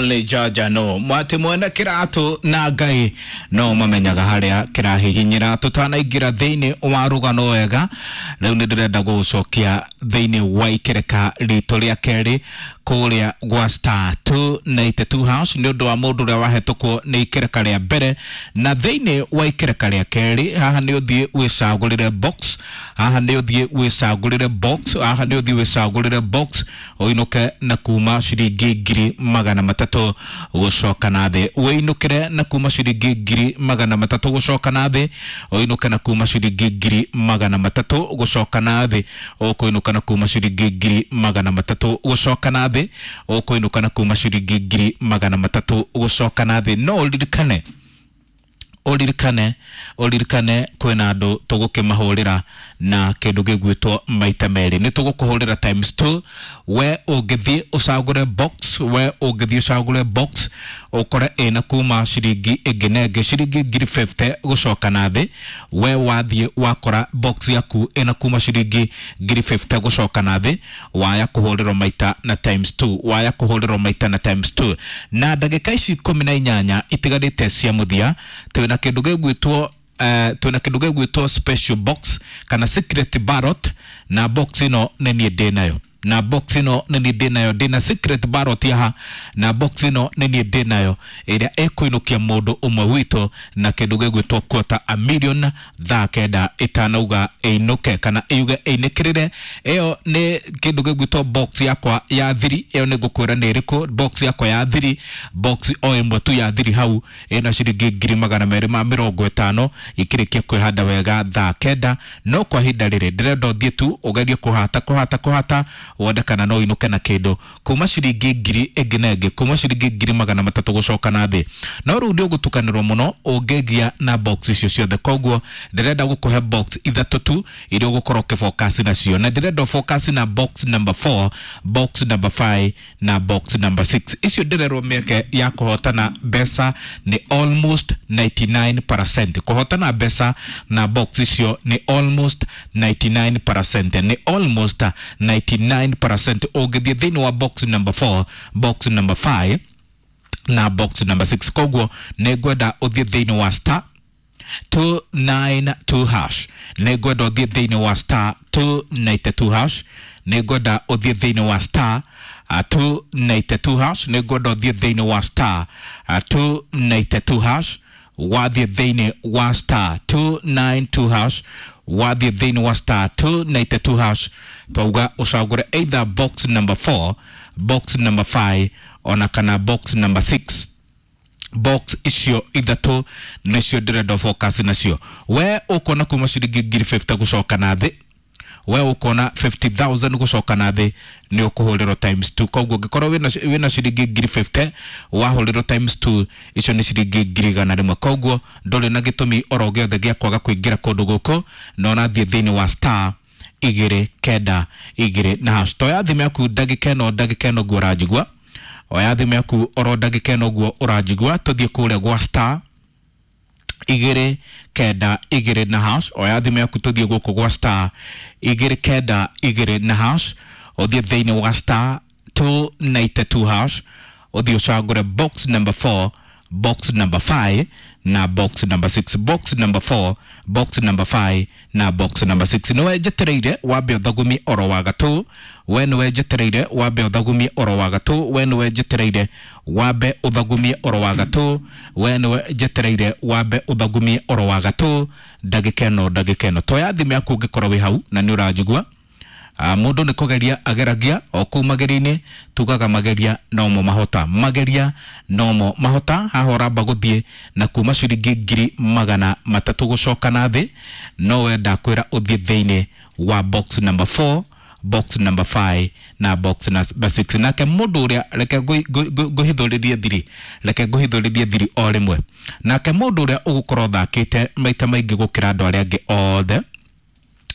Only Georgia no mwati mwene kiratu na Ngai no mamenyaga haria kirahihinyira. Tutanaingira thiini wa rugano wega, riu ni ndirenda gugucokia thiini wa ikereka ritu ria keri kuria gwa star 292 house ni undu wa mundu uria wahetukwo ni ikereka ria mbere. Na thiini wa ikereka ria keri haha ni uthie wicagurire box, haha ni uthie wicagurire box, haha ni uthie wicagurire box uinuke na kuma ciringi 300,000 gucoka na thi. Wiinukire na kuma ciringi 300,000 gucoka na thi, uinuke na kuma ciringi 300,000 gucoka na thi, ukuinuka na kuma ciringi 300,000 gucoka na thi, ukuinuka na kuma ciringi 300,000 gucoka na thi. No uririkane, uririkane, uririkane kwina andu tugukimahurira na kindu gigwitwo maita meri. Ni tugukuhurira times 2. We ungithie ucagure box, we ungithie ucagure box ukore ina kuma ciringi ingi na ingi ciringi 50,000 gucoka na thi. We wathie wakora box yaku ina kuma ciringi 50,000 gucoka na thi, waya kuhurirwo maita na times 2, waya kuhurirwo maita na times 2. Na ndagika ici 18 itigarite cia muthia, twina kindu gigwitwo twina kindu gigwitwo special box kana secret ballot. Na box ino ni nie ndi nayo, na box ino ni nie ndi nayo, ndina secret ballot yaha, na box ino ni nie ndi nayo iria ikuinukia mundu umwe witũ na kindu gigwitwo quarter a million thaa kenda itanauga inuke kana iuge inikirire. Iyo ni kindu gigwitwo box yakwa ya thiri. Iyo ni ngukwira ni iriku box yakwa ya thiri. Box o imwe tu ya thiri hau ina ciringi 250,000 ikirikia kwihanda wega thaa kenda. No kwa ihinda riri ndirenda uthie tu ugerie kuhata kuhata kuhata wone kana no inuke na kindu kuma ciringi ngiri ingi na ingi, kuma ciringi 300,000 gucoka na thi. No riu ndi ugutukanirwo muno ungigia na box icio ciothe. Koguo ndirenda gukuhe box ithatu tu iria ugukorwo ukifocus nacio, na ndirenda focus na box number 4, box number 5 na box number 6. Icio ndirerwo mieke ya kuhotana mbeca ni almost 99%. Kuhotana mbeca na box icio ni almost 99%, ni almost 99%. Ũngĩthiĩ thĩinĩ wa box number 4, box number 5 na box number 6. Koguo nĩ ngwenda ũthiĩ thĩinĩ wa star 292 hash, nĩ ngwenda ũthiĩ thĩinĩ wa star 292 hash, nĩ ngwenda ũthiĩ thĩinĩ wa star 292 hash, nĩ ngwenda ũthiĩ thĩinĩ wa star 292 hash, wathiĩ thĩinĩ wa star 292 hash, wathiĩ thĩinĩ wa star 292 hash, twauga ũcagũre either box number 4, box number 5 ona kana box number 6. Box icio ithatũ nicio ndĩrenda focus nacio. We ũkuona kuma ciringi 50,000 gucoka na thĩ, we ũkuona 50,000 gucoka na thĩ nĩ ũkũhũrĩrwo times 2. Koguo ũngĩkorwo wĩna ciringi 50,000 wahũrĩrwo times 2 icio nĩ ciringi 100,000. Koguo ndũrĩ na gĩtũmi oro gĩothe gĩa kwaga kũingĩra kũndũ gũkũ, na ũrathiĩ thĩinĩ wa star 292 na hash. Toya thimũ yaku ndagĩka ĩno, ndagĩka ĩno guo ũranjigua, oya thimũ yaku oro ndagĩka ĩno guo ũranjigua, tũthiĩ kũrĩa gwa star 292 na hash. Oya thimũ yaku tũthiĩ gũkũ gwa star 292 na hash, ũthiĩ thĩinĩ wa star 292 hash, ũthiĩ ũcagũre box number 4, box number 5 na box number 6. Box number 4, box number 5 na box number 6. Niwe njetereire wambe ũthagumie oro wa gatũ. We niwe njetereire wambe ũthagumie oro wa gatũ. We niwe njetereire wambe ũthagumie oro wa gatũ. We niwe njetereire wambe ũthagumie oro wa gatũ. Ndagĩka ĩno, ndagĩka ĩno toya thimũ yaku ũngĩkorwo wĩ hau na nĩ ũranjigua. Mundu nĩ kũgeria ageragia o kũu mageria-inĩ, tugaga mageria nomo mahota, mageria nomo mahota. Haha ũramba gũthiĩ na kuma ciringi 300,000 gũcoka na thĩ, no we ndakwĩra ũthiĩ thĩinĩ wa box number 4, box number 5 na box number 6. Nake mũndũ ũrĩa, reke ngũhithũrĩrie thiri, reke ngũhithũrĩrie thiri o rĩmwe. Nake mũndũ ũrĩa ũgũkorwo ũthakĩte maita maingĩ gũkĩra andũ arĩa angĩ othe,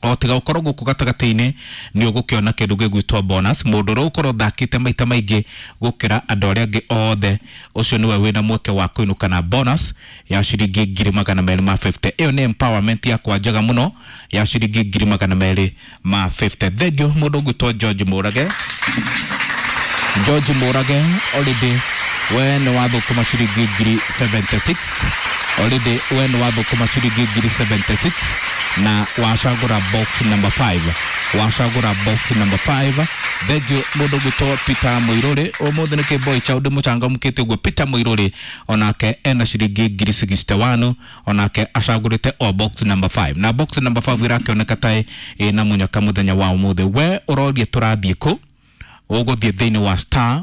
o tiga ũkorwo gũkũ gatagatĩ-inĩ nĩ ũgũkĩona kĩndũ gĩgwĩtwo bonus. Mũndũ ũrĩa ũgũkorwo ũthakĩte maita maingĩ gũkĩra andũ arĩa angĩ othe, ũcio nĩwe wĩna mweke wa kũinũka na bonus ya ciringi 250,000. Ĩyo nĩ empowerment yakwa njega mũno ya ciringi 250,000. Thengiũ mũndũ ũgwĩtwo George Mũrage. George Mũrage already We nĩ wathũkũma ciringi ngiri 76 already, we nĩ wathũkũma ciringi ngiri 76 na wacagũra box number 5, wacagũra box number 5. Thengiũ mũndũ ũgwĩtwo Peter Mũirũrĩ, ũmũthĩ nĩ kĩmboi cha ũndũ mũcangamũkĩte ũguo. Peter Mũirũrĩ onake ena ciringi ngiri 61, onake acagũrĩte o box number 5, na box number 5 ĩrakĩoneka ta ĩna mũnyaka mũthenya wa ũmũthĩ. We ũroria tũrathiĩ kũ? Ũgũthiĩ thĩinĩ wa star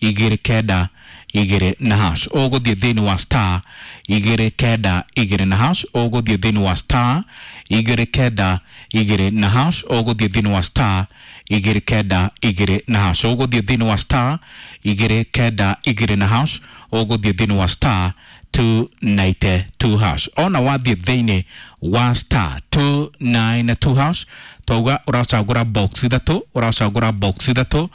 292 na hash, ũgũthiĩ thĩinĩ wa star 292 na hash, ũgũthiĩ thĩinĩ wa star 292 na hash, ũgũthiĩ thĩinĩ wa star 292 na hash, ũgũthiĩ thĩinĩ wa star 292 na hash, ũgũthiĩ thĩinĩ wa star 292 hash. Ona wathiĩ thĩinĩ wa star 292 hash, twauga ũracagũra box ithatũ, ũracagũra box ithatũ,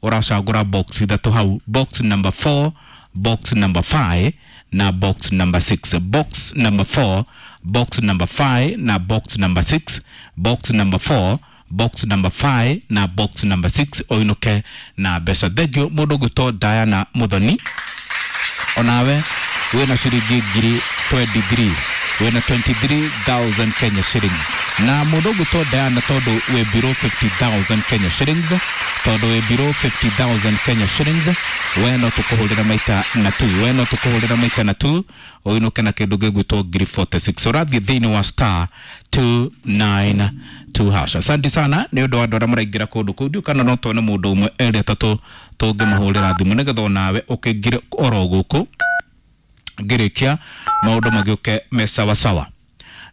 ũracagũra box ithatũ hau, box number 4, box number 5 na box number 6, box number 4, box number 5 na box number 6, box number 4, box number 5 na box number 6, ũinũke na mbeca. Thengio mũndũ ũgwĩtwo Diana Muthoni, onawe wĩna ciringi ngiri 23, wĩna 23,000 Kenya shillings. Na mũndũ ũgwĩtwo Diana, tondũ wĩ below 50,000 Kenya shillings, tondũ wĩ below 50,000 Kenya shillings, we no tũkũhũrĩra maita na 2, we no tũkũhũrĩra maita na 2, ũinũke na kĩndũ gĩgwĩtwo ngiri 46. Ũrathiĩ thĩinĩ wa star 292 hash. Asante sana nĩ ũndũ wa andũ arĩa maraingĩra kũndũ kũu. Ndiũ kana no tuone mũndũ ũmwe, erĩ, atatũ tũngĩmũhũrĩra thimũ nĩgetha onawe ũkĩingĩre oro gũkũ ngĩrĩkia maũndũ magĩũke me sawasawa.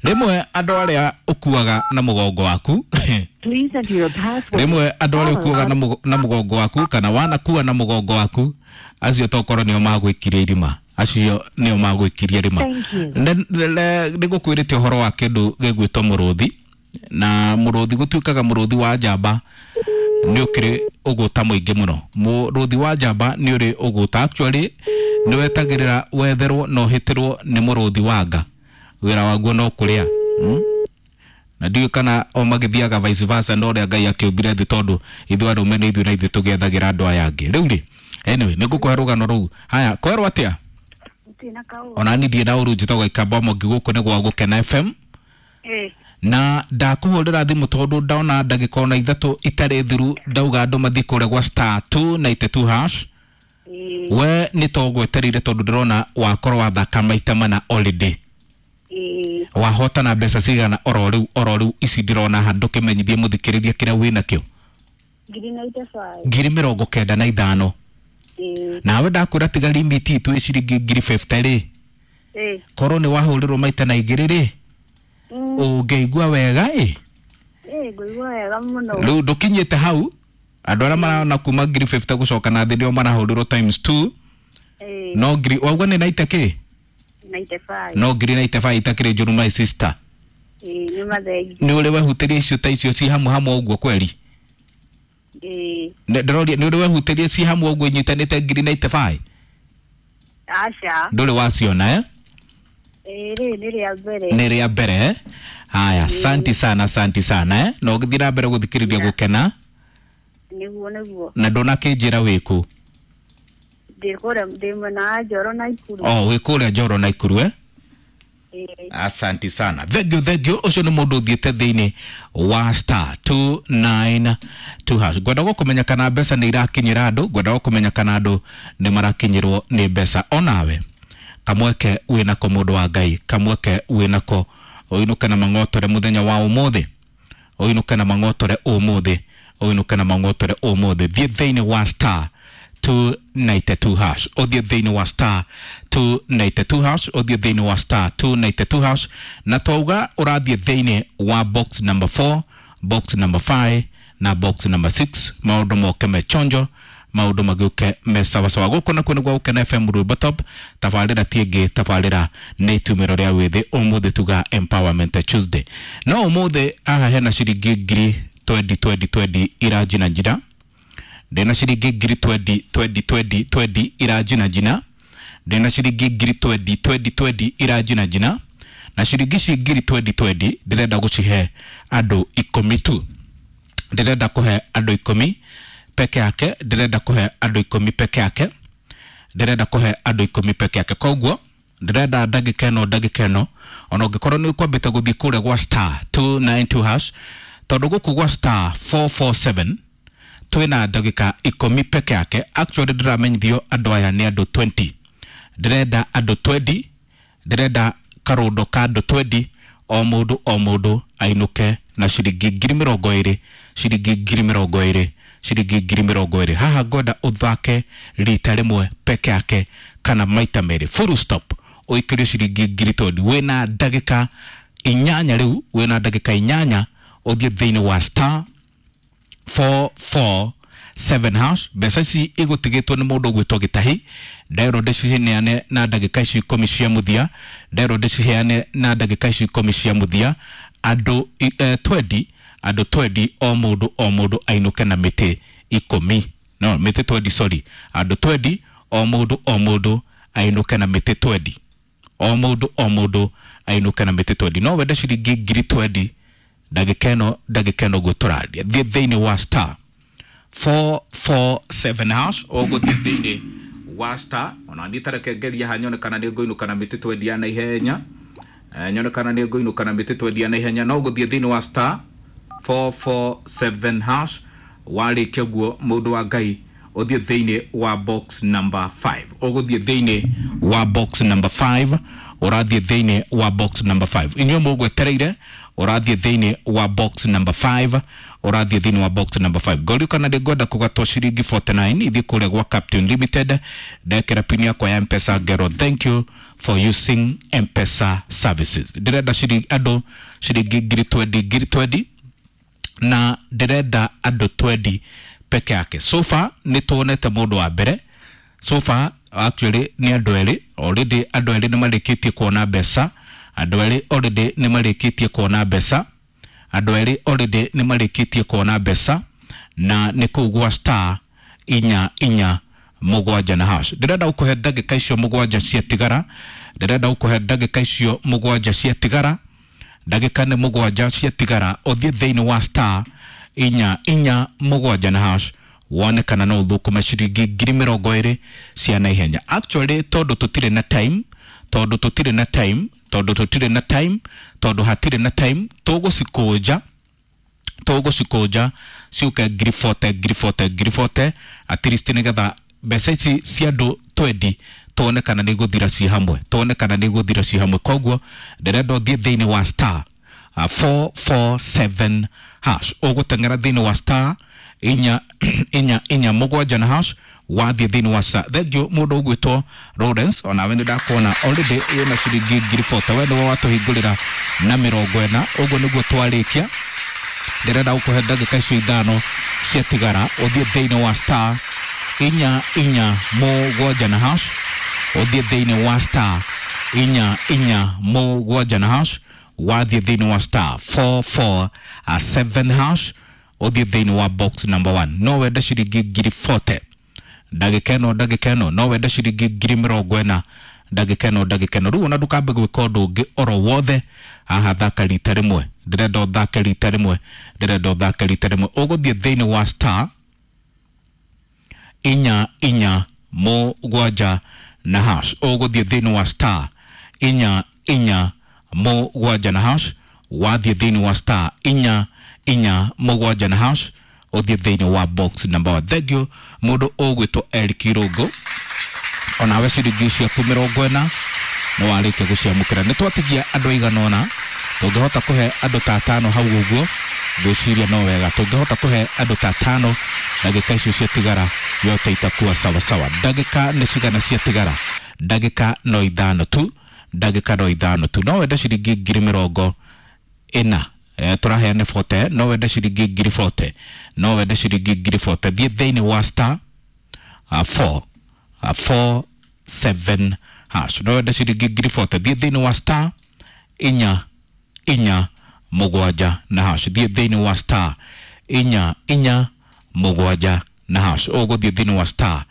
Rĩmwe andũ arĩa ũkuaga na mũgongo waku, Please enter your password. rĩmwe andũ arĩa ũkuaga na mũgongo waku kana wanakua na mũgongo waku, acio tokorwo nĩo magwĩkirie irima, acio nĩo magwĩkirie irima. Thank you. Nĩ ngũkwĩrĩte ũhoro wa kĩndũ gĩgwĩtwo mũrũthi, na mũrũthi gũtuĩkaga mũrũthi wa njamba nĩ ũkĩrĩ ũgũta mũingĩ mũno. Mũrũthi wa njamba nĩ ũrĩ ũgũta, actually nĩ wetagĩrĩra wetherwo na ũhĩtĩrwo nĩ mũrũthi wa nga, wĩra waguo no kũrĩa, Na ndiũĩ kana o magĩthiaga vice versa na ũrĩa Ngai akĩũmbire thĩ, tondũ ithuĩ arũme nĩ ithuĩ na ithuĩ tũgĩethagĩra andũ aya angĩ rĩu rĩ. Anyway, nĩ ngũkũhe rũgano rũu. Haya, kwerwo atĩa? Tina kau. Ona ni ndiĩ na ũru, njĩtagwo Ikamba Mwangi, gũkũ nĩ gwa Gũkena FM. Na ndakũhũrĩra thimũ tondũ ndona ndagĩka ona ithatũ itarĩ thiru ndauga andũ mathiĩ kũrĩa gwa star 292 hash. We nĩ to gwetereire, tondũ ndĩrona wakorwo wathaka maita mana already. Wahotana mbeca cigana oro rĩu, oro rĩu ici ndĩrona haha? Ndũkĩmenyithie mũthikĩrĩria kĩrĩa wĩnakĩo. Ngiri 95. Ngiri 95. Nawe ndakwĩra tiga limit itũ ĩ ciringi ngiri 50 rĩ, korwo nĩ wahũrĩrwo maita na igĩrĩ rĩ, ũngĩigua wega ĩ? Ngũigua wega mũno. Rĩu ndũkinyĩte hau, andũ arĩa marona kuma ngiri 50 gũcoka na thĩ nĩo marahũrĩrwo times 2. No ngiri wauga nĩ 90 kĩ? 95. No ngiri 95 itakĩrĩ njũru, my sister. Nĩ mathengi. Nĩ ũrĩ wehutĩria icio ta icio ci hamwe hamwe ũguo kweri? Ndĩroria nĩ ũrĩ wehutĩria ci hamwe ũguo inyitanĩte ngiri 95? Aca. Ndũrĩ waciona, eh? Rĩrĩ nĩ rĩa mbere. Nĩ rĩa mbere, eh? Haya, asanti sana, asanti sana, eh? Na ũgĩthiĩ na mbere gũthikĩrĩria Gũkena. Nĩguo, nĩguo. Na ndũnakĩnjĩra wĩkũ. Ndĩ kũrĩa, ndĩ mwena wa Njoro na Ikuru. Oh, wĩ kũrĩa Njoro na Ikuru, eh? Ĩĩ. Asanti sana, thank you, thank you. Ũcio nĩ mũndũ ũthiĩte thĩinĩ wa star 292 hash. Ngwenda gũkũmenya kana mbeca nĩ irakinyĩra andũ, ngwenda gũkũmenya kana andũ nĩ marakinyĩrwo nĩ mbeca. Onawe kamweke wĩnako, mũndũ wa Ngai, kamweke wĩnako ũinũke na mang'otore mũthenya wa ũmũthĩ, ũinũke na mang'otore ũmũthĩ, ũinũke na mang'otore ũmũthĩ. Thiĩ thĩinĩ wa star 292 hash, ũthiĩ thĩinĩ wa star 292 hash, ũthiĩ thĩinĩ wa star 292 hash. Na twauga ũrathiĩ thĩinĩ wa box number 4, box number 5 na box number 6, maũndũ moke me chonjo, maũndũ magĩũke me sawasawa. Gũkũ nakuo nĩ gwa Gũkena FM, Rwĩmbo Top. Tabarĩra ti ĩngĩ, tabarĩra nĩ itumĩro rĩa wĩthĩ. Ũmũthĩ tuga Empowerment Tuesday, no ũmũthĩ haha hena ciringi ngiri 20 20 20 iranjina njina. Ndĩna ciringi ngiri 20 20 20 20 iranjina njina, ndĩna ciringi ngiri 20 20 20 iranjina njina, na ciringi ici ngiri 20 20 ndĩrenda gũcihe andũ 10 tu. Ndĩrenda kũhe andũ 10 peke yake, ndĩrenda kũhe andũ 10 peke yake. Ndĩrenda kũhe andũ 10 peke yake. Koguo ndĩrenda ndagĩka ĩno ona ũngĩkorwo nĩ ũkwambĩte gũthiĩ kũrĩa gwa star 292 hash, tondũ gũkũ gwa star 447 twĩna ndagĩka 10 peke yake. Actually ndĩramenyithio andũ aya nĩ andũ 20. Ndĩrenda andũ 20, ndĩrenda karũndo ka andũ 20, o mũndũ o mũndũ ainũke na ciringi 20,000, ciringi 20,000, ciringi 20,000. Haha ngwenda ũthake rita rĩmwe peke yake kana maita merĩ, full stop, ũikĩrio ciringi 20,000. Wĩna ndagĩka 8 rĩu, wĩna ndagĩka 8 ũthiĩ thĩinĩ wa star 447 hash. Mbeca ici igũtigĩtwo nĩ mũndũ ũgwĩtwo Gĩtahi. Nderwo ndĩciheane na ndagĩka ici 10 cia mũthia, nderwo ndĩciheane na ndagĩka ici 10 cia mũthia. Andũ 20, andũ 20, o mũndũ o mũndũ ainũke na mĩtĩ 10, no mĩtĩ 20, sorry, andũ 20, o mũndũ o mũndũ ainũke na mĩtĩ 20, o mũndũ o mũndũ ainũke na mĩtĩ 20. No wende ciringi 20,000 ndagĩka ĩno, ndagĩka ĩno ũguo tũraria. Thiĩ thĩinĩ wa star 447 hash, ũgũthiĩ thĩinĩ wa star. Ona niĩ tareke ngerie haha nyone kana nĩ ngũinũka na mĩtĩ 20 ya naihenya. Nyone kana nĩ ngũinũka na mĩtĩ 20 ya naihenya. No ũgũthiĩ thĩinĩ wa star 447 hash, warĩkia ũguo mũndũ wa Ngai ũthiĩ thĩinĩ wa box number 5. Ũgũthiĩ thĩinĩ wa box number 5, ũrathiĩ thĩinĩ wa box number 5. Inyuĩ mũgwetereire, ũrathiĩ thĩinĩ wa box number 5, ũrathiĩ thĩinĩ wa box number 5. Ngorio kana ndĩngwenda kũgatwo ciringi 49 ithiĩ kũrĩa gwa Captain Limited, ndekĩra pin yakwa ya Mpesa ngero thank you for using Mpesa services. Ndĩrenda ciringi andũ ciringi 20,000, 20,000, na ndĩrenda andũ 20 peke yake. So far nĩ tuonete mũndũ wa mbere, so far actually nĩ andũ erĩ already, andũ erĩ nĩ marĩkĩtie kuona mbeca, andũ erĩ already nĩ marĩkĩtie kuona mbeca, andũ erĩ already nĩ marĩkĩtie kuona mbeca, na nĩ kũu gwa star 4 4 7 na hash. Ndĩrenda gũkũhe ndagĩka icio 7 ciatigara, ndĩrenda gũkũhe ndagĩka icio 7 ciatigara, ndagĩka nĩ 7 ciatigara, ũthiĩ thĩinĩ wa star 4 4 7 na hash, wone kana no ũthũkũme ciringi 20,000 cia naihenya. Actually tondũ tũtirĩ na time, tondũ tũtirĩ na time, tondũ tũtirĩ na time, tondũ hatirĩ na time, tũgũcikũnja, tũgũcikũnja ciũke 40,000, 40,000, 40,000 at least, nĩgetha mbeca ici cia andũ 20 tuone kana nĩ igũthira ci hamwe, tuone kana nĩ igũthira ci hamwe. Koguo ndĩrenda ũthiĩ thĩinĩ wa star 447 hash, ũgũteng'era thĩinĩ wa star 4 4 4 7 na hash, wathiĩ thĩinĩ wa star. Thank you mũndũ ũgwĩtwo Lawrence, onawe nĩ ndakuona already wĩna ciringi 40,000, we nĩwe watũhingũrĩra na 40. Ũguo nĩguo twarĩkia. Ndĩrenda gũkũhe ndagĩka icio 5 ciatigara, ũthiĩ thĩinĩ wa star 4 4 7 na hash, ũthiĩ thĩinĩ wa star 4 4 7 na hash, wathiĩ thĩinĩ wa star 447 hash, ũthiĩ thĩinĩ wa box number 1. No wende ciringi 40,000 ndagĩka ĩno, ndagĩka ĩno no wende ciringi 40,000 ndagĩka ĩno, ndagĩka ĩno. Rĩu ona ndũkambe gwĩka ũndũ ũngĩ oro wothe haha, thaka rita rĩmwe, ndĩrenda ũthake rita rĩmwe, ndĩrenda ũthake rita rĩmwe. Ũgũthiĩ thĩinĩ wa star 4 4 7 na hash, ũgũthiĩ thĩinĩ wa star 4 4 7 na hash, wathiĩ thĩinĩ wa star 4 4 7 na hash, ũthiĩ thĩinĩ wa box number 1. Thank you mũndũ ũgwĩtwo Eric Irũngũ, onawe ciringi ciaku 40 nĩ warĩkia gũciamũkĩra. Nĩ twatigia andũ aigana ũna, tũngĩhota kũhe andũ ta 5 hau ũguo, ngwĩciria no wega. Tũngĩhota kũhe andũ ta 5 ndagĩka icio ciatigara yote itakuwa sawa sawa. Ndagĩka nĩ cigana ciatigara? Ndagĩka no 5 tu, ndagĩka no 5 tu. No wende ciringi 40,000, tũraheane 40, no wende ciringi 40,000, no wende ciringi 40,000. Thiĩ thĩinĩ wa star 4 4 7 hash, no wende ciringi 40,000. Thiĩ thĩinĩ wa star 4 4 7 na hash, thiĩ thĩinĩ wa star 4 4 7 na hash, ũgũthiĩ thĩinĩ wa star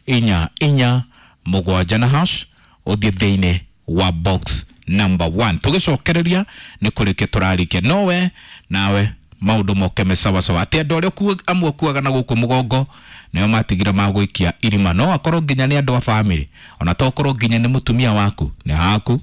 4 4 7 na hash, ũthiĩ thĩinĩ wa box number 1. Tũgĩcokereria nĩ kũrĩkia tũrarĩkia, nowe nawe Maũndũ moke me sawasawa. Atĩ andũ arĩa amwe ũkuaga na gũkũ mũgongo nĩo matigire magũikia irima. No akorwo nginya nĩ andũ a bamĩrĩ, ona to korwo nginya nĩ mũtumia waku, nĩ haku.